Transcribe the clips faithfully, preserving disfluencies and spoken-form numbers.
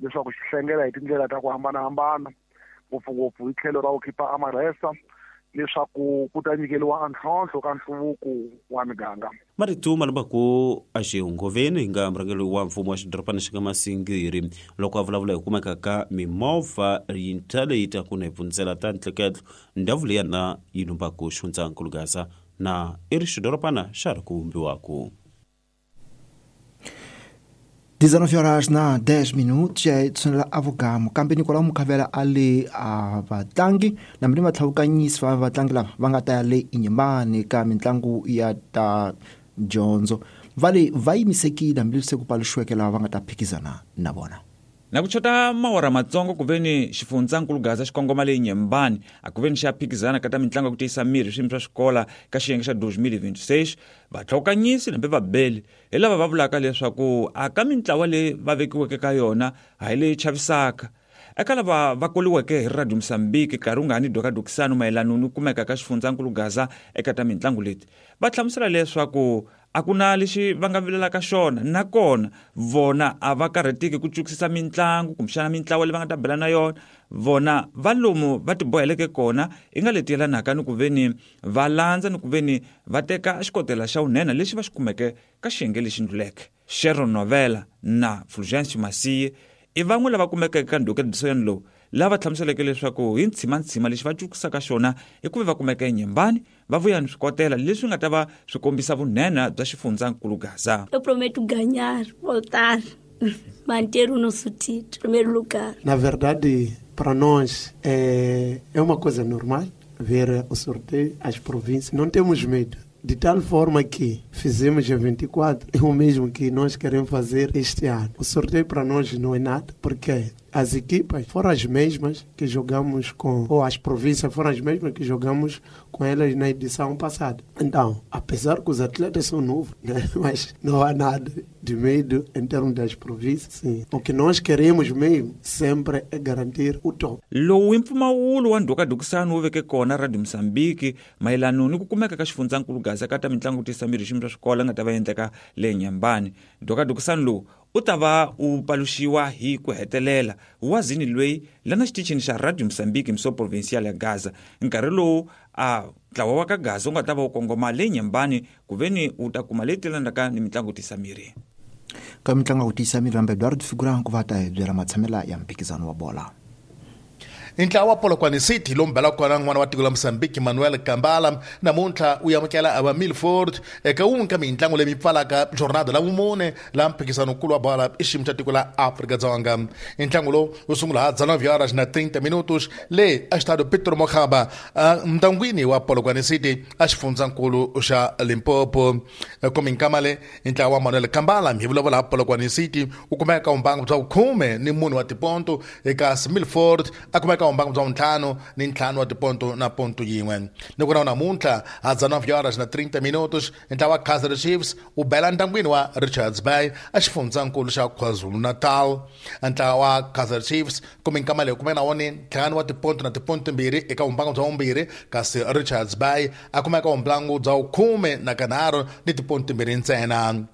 Leswaku xi hlengela hi tindlela ta ku hambanahambana, ngopfungopfu hi tlhelo ra ku khipa amarhesa, leswaku ku ta nyikeriwa ntlhontlho ka nhluvuko wa miganga. Marito ma lambaku a xihungoveni hi nga murhangeri wa mfumo wa xidorobana xi nga Masingiri loko a vulavula hi kumeka ka mimovha yintshwa leyi taku na hi pfundzela ta ntleketlo ndhawu leyana yi lumbaku xifundzankulu Gaza na i ri xidorobana xa ri ku vumbiwaku. dezenove horas na dez minutos ya tshwanela avugamo kambe Nicolau Mukhavela a le a vatlangi na mri vatlhavukanyisi va vatlangi lava va nga ta ya le Inhambane ka mitlangu ya ta dyondzo va le va yimisekile hambileswi se ku paluxiweke lava va nga ta phikizana na vona. Na ku chota mawara matsongo ku veni xifundzankulu Gaza xikongoma le Inhambane a ku veni xa phikizana ka ta mitlangu ya ku tiyisa miri swiyimo swa xikola ka xiyenge xa dois mil e vinte e seis vatlhokanyisi nambe vabeli hi lava va vulaka leswaku a ka mintlawa leyi va vekiweke ka yona a hi leyi chavisaka. Eka lava va koliweke hi Radio Mozambique nkarhi wu nga ni dokadokisano mayelana ni kumeka ka xifundzankulu Gaza eka ta mitlangu leti va hlamusela leswaku a ku na lexi va nga vilelaka xona nakona vona a va karhateki ku cukisisa mitlangu kumbexana mintlawa leyi va nga ta bela na yona vona va lomu va tiboheleke kona i nga leti yelanaka ni ku veni va landza ni ku veni va teka xikotela xa vunene lexi va xi kumeke ka xiyenge lexi ndluleke. Sharon Novela na Fulgence Masiye i van'we lava kumekeke ka ndhukediso lowu lava hlamuseleke leswaku hi ntshimantsima lexi va cukisaka xona i ku ve va kumeka eNyembani va vuya ni swikotela leswi nga ta va swi kombisa vunene bya xifundzankulu Gaza. Eu prometo ganhar, voltar, manter o nosso título, primeiro lugar. Na verdade, para nós é, é uma coisa normal ver o sorteio, as províncias. Não temos medo. De tal forma que fizemos em vinte e quatro, é o mesmo que nós queremos fazer este ano. O sorteio para nós não é nada, porque as equipas foram as mesmas que jogamos com, ou as províncias foram as mesmas que jogamos com elas na edição passada. Então, apesar que os atletas são novos, né? Mas não há nada de medo em termos das províncias. Sim. O que nós queremos mesmo sempre é garantir o top. Lowu i mpfumawulo wa ndhukadukisano wu veke kona Radio Mozambique mayelana ni ku kumeka ka xifundzankulu Gaza ka ta mitlangu ku tiyisa miri xiyimo xa swikolo nga ta va endleka le Inhambane. Ndhukadukisano lowu u ta va u paluxiwa hi ku hetelela wazini loyi lana xitichini xa Radio Mozambique mso provincial ya Gaza nkarhi lowu a ntlawa wa ka Gaza wu nga ta va wu kongoma le Inhambane ku veni u ta kuma leyi telanaka ni mitlangu tiyisa miri. Ka mitlangu ku tiyisa miri hambe Eduardo Figurang ku va ta hi byela matshamela ya mphikizano wa bola. Ntlawa wa Polokwane City lowu mbela kona n'wana wa tiko la Mozambique Manuel Kambala namuntlha u amukela ava Milford eka wun'we ka mitlangu leyi pfalaka jornada la vumune la mphikizano-nkulu wa bola i xiyimo xa tiko la Afrika-Dzonga. Ntlangu lowu wu sungula ha dezenove horas na trinta minutos le Estádio Pedro Mokgaba ntangwini wa Polokwane City a xifundzankulu xa Limpopo. Kominkamale ntlawa wa Manuel Kambala hi vulavula ha Polokwane City u kumeka vumbangu bya vukhume ni munhu wa tiponto eka Milford a kumeka mbangu bya ntlhanu ni ntlhanu wa tiponto na ponto yin'we. Ni ku na namuntlha ha dezenove horas na trinta minutos ntlawa wa Kaizer Chiefs u bela ntangwini wa Richards Bay a xifundzankulu xa KwaZulu-Natal. Ntlawa wa Kaizer Chiefs kuminkama leyi kumeka na wona ntlhanu wa tiponto na tiponto timbirhi eka vumbangu bya vumbirhi kasi Richards Bay a kumeka vumbangu bya vukhume na kanharhu ni tiponto timbirhi ntsena.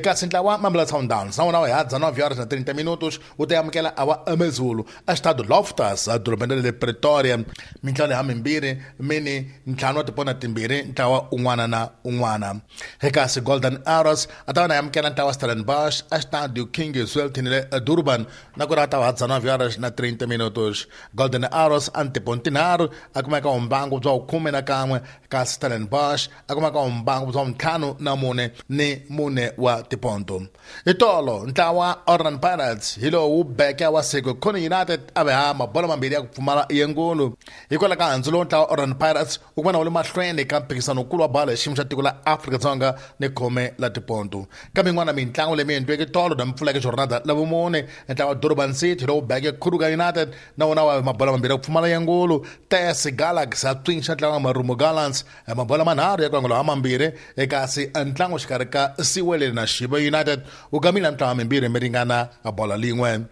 Kasi ntlawa Mamelodi Sundowns na wona wa dezenove horas na trinta minutos wu ta amukela awa AmaZulu a Estádio Loftus edorobeni ra le Pretoria. Mintlawa leyi hamimbirhi mini ntlhanu wa tipona timbirhi ntlawa un'wana na un'wana. Kasi Golden Arrows a ta va na amukela ntlawa Stellenbosch a Estádio King Zwelithini le Durban na ku ri a ta va dezenove horas na trinta minutos. Golden Arrows a ni tiponto tinharhu a kumeka vumbangu bya vukhume na kan'we kasi Stellenbosch a kumeka vumbangu bya ntlhanu na mune ni mune wa tiponto. Itolo ntlawa Orlando Pirates hi lowu beke wa Sekhukhune United a ve ha mabolo mambirhi ya ku pfumala yengulu. Hikwalaho ka handzu lowu ntlawa Orlando Pirates wu kuma na wu le mahlweni ka mphikizano-nkulu wa bolo hi xiyimo xa tiko la Afrika-Dzonga ni khume la tiponto. Kambe yin'wana mitlangu leyi mi endliweke tolo na mpfuleke jornada la vumune ntlawa Durban City lowu beke Kruger United na wona wa mabolo mambirhi ya ku pfumala yengulu. T S Galaxy a tswinxa ntlawa Marumo Gallants mabolo manharhu ya ku angula ha mambirhi kasi ntlangu xikarhi ka Siwele na Shiba United u gamile mintlawa mimbirhi mi ringana bola lin'we.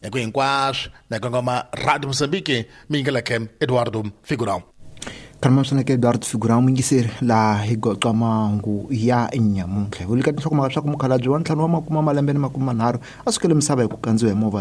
Eku hinkwaswo na kongoma Radio Mozambique mi yingeleke Eduardo Figurão. Karmasana ke Eduardo Figurão muyingiseri laha hi goqa mahungu ya nyamuntlha. Hi vulika tinhlokomhaka swa ku mukhalabye wa ntlhanu wa makume malembe ni makume manharhu a sukele misava hi ku kandziwa hi movha.